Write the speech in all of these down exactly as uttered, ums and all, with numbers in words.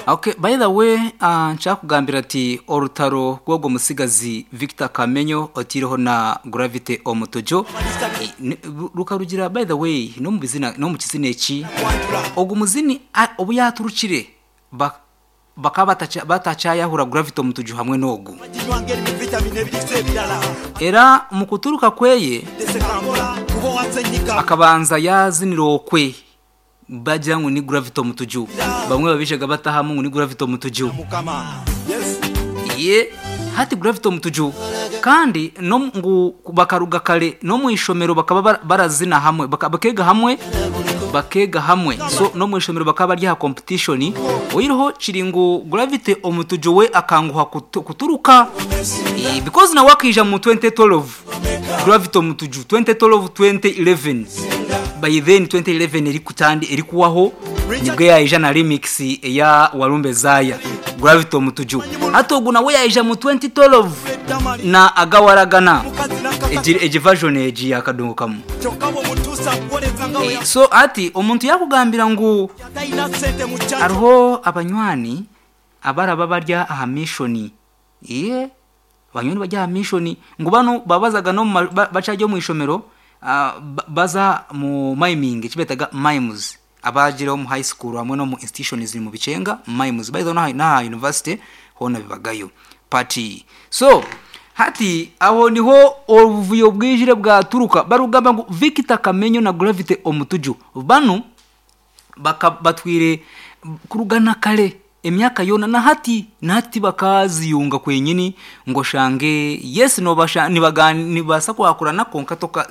Okay, by the way, uh, nkyakugambira ati orutaro rw'ogwo musigazi Victor Kamenyo otiireho na Gravity Omutuju eh, ni- ru- rukarugira, by the way, n'omu bizina, n'omu kizina eki ogu muzini a- obu yaturukire ba- bakaba batacha- batakyayahura Gravity Omutuju hamwe n'ogu. Ginywanga erimu vitamini ebiriisa ebirala. Era mu kuturuka kweye Tesekambola kuba owansenyika. Akabanza yazinira okwe bagira ngu ni Gravity Omutuju, bamwe babishaga batahamu ngu ni Gravity Omutuju. Mukama, yes. Ye hati Gravity Omutuju kandi no ngu bakaruga kare no mu ishomero bakaba bara- barazina hamwe, baka- bakega hamwe bakega hamwe so no mu ishomero bakaba bari aha competition. Oyiroho kiri ngu Gravity Omutuju we akanguha kutu- kuturuka Eh, because nawe akija mu twenty twelve, Gravity Omutuju twenty twelve, twenty eleven. By then twenty eleven eri kutandi eri kuwaho, nibwo yaija na remix eya Warumbe Zaya. Gravity Omutuju hati ogu nawe yaija mu twenty twelve na Agawaragana. Mukazi nakaka. egi egi version egi yakadongo kamu. Kyokka bw'omutuusa kuwoleza nga we. So ati omuntu yakugambira ngu Yatalina ssente mu kyato. Hariho abanywani abaraba barya aha mission, iye abanywani barya aha mission ngu bano babazaga no mu ma- ba- bacajya mu ishomero, ah, ba- baza mu miming, ekibetaga mimes, abagiraho mu high school hamwe no mu institutions mu bicenga mimes, by the way, n'aha university hona bibagayo party. So hati aho niho obuvuyo bwijire bwaturuka, barugamba ngu Victor Kamenyo na Gravity Omutuju bano baka batwire kurugana kare emyaka yona, na hati na hati bakaziyunga kwenyini ngo shange yes nobasha nibaga nibasa kwakurana, konka toka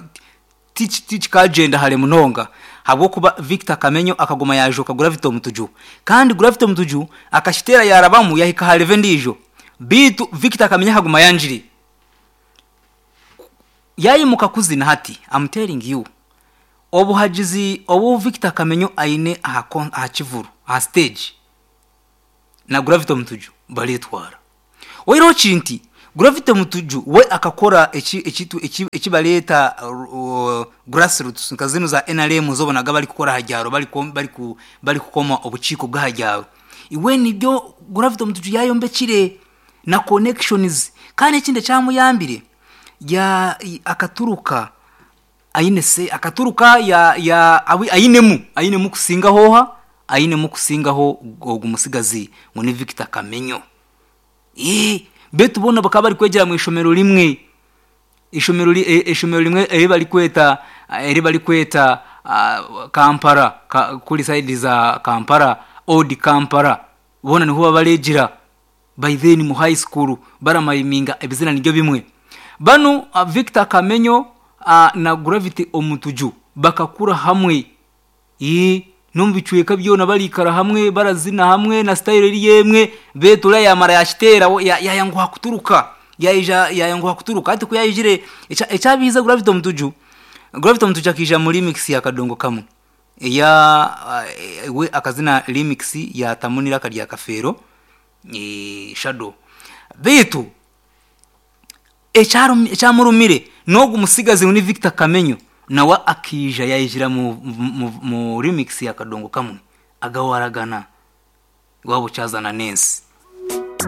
tikikagenda hare munonga habwokuba Victor Kamenyo akagoma yajoka Gravity Omutuju, kandi Gravity Omutuju akashitera yarabamu yahika hareve ndijo, bitu Victor Kamenyo akaguma yanjiri yayimuka kuzina. Hati I'm telling you, obuhagizi obu Victor Kamenyo aine aha kon- aha kivuru, aha stage, na Gravity Omutuju baretwara. Oireho kinti Gravity Omutuju we akakora eki ekitu eki ekibaleta uh, grassroots nka zino za N R M zobonaga bari kukora hajyaro, bari kom- bari ku bari kukoma obukiiko bw'ahajyaro. Iwe nibyo Gravity Omutuju yayombekire na connections, kandi ekindi ekyamuyambire ya i- akaturuka aine se akaturuka ya ya awi- ainemu ainemu kusinga hoha ainemu kusingaho ogu musigazi ngo ni Victor Kamenyo. Eh, betu bona bakaba bari kwegera mu ishomero rimwe, ishomero ri- eh, ishomero rimwe eri bari kweta eri bari kweta ah, Kampala ka, kuri side za Kampala, Old Kampala, bona niho babaregira. By then mu high school baramayiminga ebizina nibyo bimwe. Bano uh, Victor Kamenyo uh, na Gravity Omutuju bakakura hamwe. Ee, no mu bicweka byona barikara hamwe, barazina hamwe na style eri yemwe. Betura yamara yashitera yayanguha kuturuka, yaija yayanguha kuturuka. Ati kuyayijire ekyabiza Gravity Omutuju, Gravity Omutuju akija muri mix ya Kadongo Kamwe eya uh, we akazina remix ya Tamunira karya Kafero e, Shadow. Bitu ekyarum- ekyamurumire n'ogu musigazi ni Victor Kamenyo nawe akija yayijira mu, mu, mu remix ya Kadongo Kamwe Agawaragana, wabo cyazana Nensi.